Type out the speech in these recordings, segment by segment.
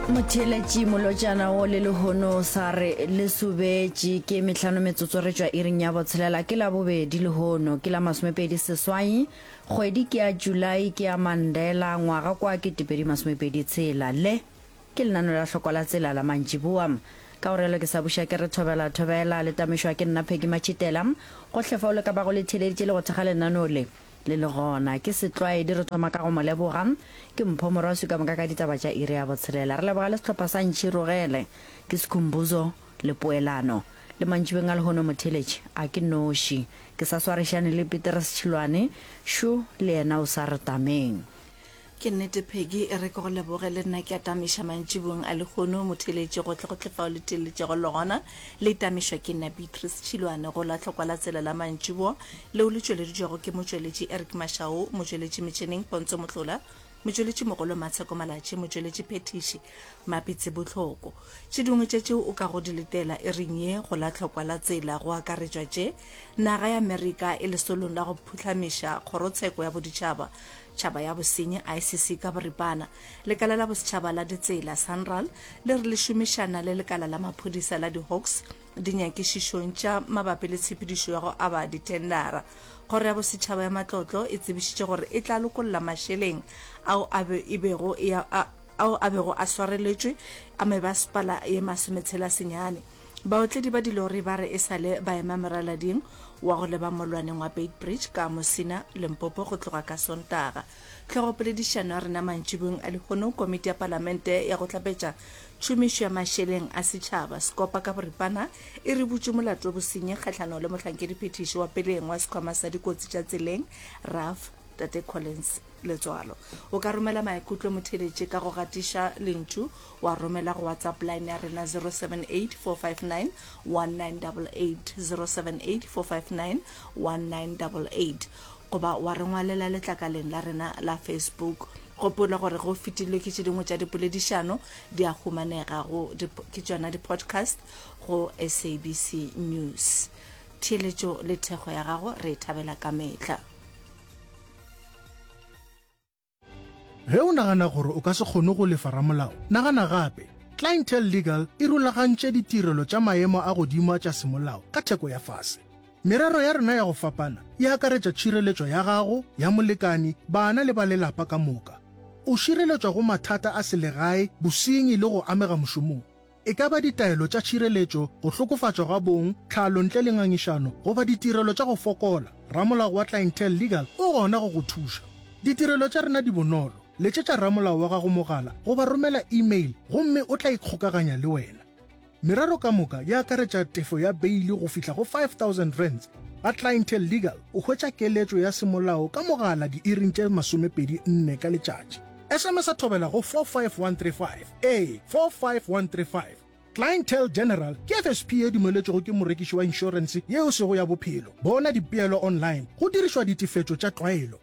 Motheeletši molotšana wo le lehono sa re le sobetše ke mehlano metsotso re tšwa iring ya botshelela ke labobedi lehono ke la masomepedi seswai kgwedi ke ya July ke ya Mandela ngwaga kwa 2026 le ke lenano la hlokwa la tsela la mantšiboa ka go realo ke sa buša ke re thobela thobela le tamišwa ke nna Peggy Matšhitela gohle fao le ka bago le theeleditše le go thekga lenaneo le Le le gona, ke setlwaedi re thoma ka go mo leboga. Ke Mpho Morwaswi ka moka ka ditaba tša iri ya botshelela. Re leboga le sehlopha sa Ntšhirogele, ke Sikhumbuzo le Poelano. Le mantšibeng a lehono motheeletši a ke noši. Ke sa swarišane le Petrus Tšhilwane, šo le yena o sa re tameng. Ke nnete Peggy, e re ke go leboge le nna ke a tamiša mantšiboeng a lehono, motheeletši gohlegohle fao le theeletšego le gona, le tamišwa ke nna Beatrice Tšhilwane go la Tlhokwa la Tsela la Mantšiboa leo le tšweleditšwego ke motšweletši Eric Mashau, motšweletši metšheneng Pontso Mohlola, motšweletši mogolo Matsheko Malatši, motšweletši phethiši Mapitsi Bohloko. Tše dingwe tša tšeo o kago di letela iring ye go la Tlhokwa la Tsela go akaretšwa tše, Naga ya Amerika e lesolong la go phuhlamiša Kgorotsheko ya Boditšhaba Tšhaba ya Bosenyi, ICC, ka boripana. Lekala la Bosetšhaba la Ditsela, SANRAL, le re le šomišana le lekala la maphodisa la di-Hawks dinyakišišong tša mabapi le tshepedišo ya go aba dithendara. Kgoro ya Bosetšhaba ya Matlotlo e tsebišitše gore e tla lokolla mašeleng ao a be e bego e a ao a bego a swareletšwe a mebasepala ye masometshela senyane. Baotledi ba dilori ba re e sa le ba ema moralading wa go leba mollwaneng wa Beitbridge ka Musina, Limpopo go tloga ka Sontaga. Hlogopoledišano ya rena mantšiboeng a lehono, Komiti ya Palamente ya go Hlapetša Tšhomišo ya Mašeleng a Setšhaba, Sekopa ka boripana, e re butše molato wa bosenyi kgahlanong le mohlankediphethiši wa peleng wa Sekhwama sa Dikotsi tša Tseleng, RAF, Tate Collins Letswalo. O ka romela maikutlo motheeletši ka go gatiša lentšu wa romela go WhatsApp line ya rena 0784591988, 0784591988, goba wa re ngwalela letlakaleng la rena la Facebook. Gopola gore ge o fetilwe ke tše dingwe tša dipoledišano di a humanega go ke tšona di-podcast go SABC News. Theeletšo le thekgo ya gago re e thabela ka mehla. Ge o nagana gore o ka se kgone go lefa ramolao, nagana gape. Clientele Legal e rulagantše ditirelo tša maemo a godimo tša semolao ka theko ya fase. Merero ya rena ya go fapana e akaretša tšhireletšo ya gago, ya molekani, bana le ba lelapa ka moka. O šireletšwa go mathata a selegae, bosenyi le go amega mošomong. E ka ba ditaelo tša tšhireletšo, go hlokofatšwa ga bong, tlhalo ntle le ngangišano, goba ditirelo tša go fokola, ramolao wa Clientele Legal o gona go go thuša. Ditirelo tša rena di bonolo, letšetša ramolao wa gago mogala goba romela email gomme o tla ikgokaganya le wena. Merero ka moka e akaretša tefo ya beili go fihla go R5000. Ga Clientele Legal o hwetša keletšo ya semolao ka mogala diiring tše 24 ka letšatši. SMS-a thobela go 45135. Ee, 45135. Clientele General ke FSP ye dumeletšwego ke morekiši wa inšorense ye e sego ya bophelo. Bona dipeelo online go dirišwa ditefetšo tša tlwaelo.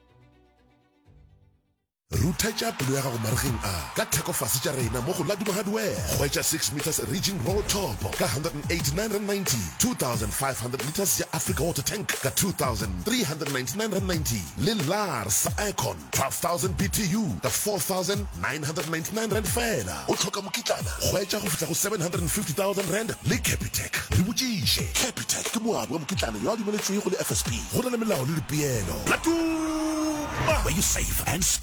Ruthetša pelo ya gago maregeng a ka theko fase tša rena mo go Laduma Hardware. Hwetša 6 metres Ridging Roll Top ka R189.90, 2500 litres ya Africa Water Tank ka R2399.90 le Lars Aircon 12,000 BTU ka R4,999 feela. O hloka mokitlana? Hwetša go fihla go R750,000 le Capitec. Re botšiše. Capitec ke moabi wa mokitlana yo a dumeletšwego le FSP. Go na le melao le dipeelo. Latuma! Where you save and score.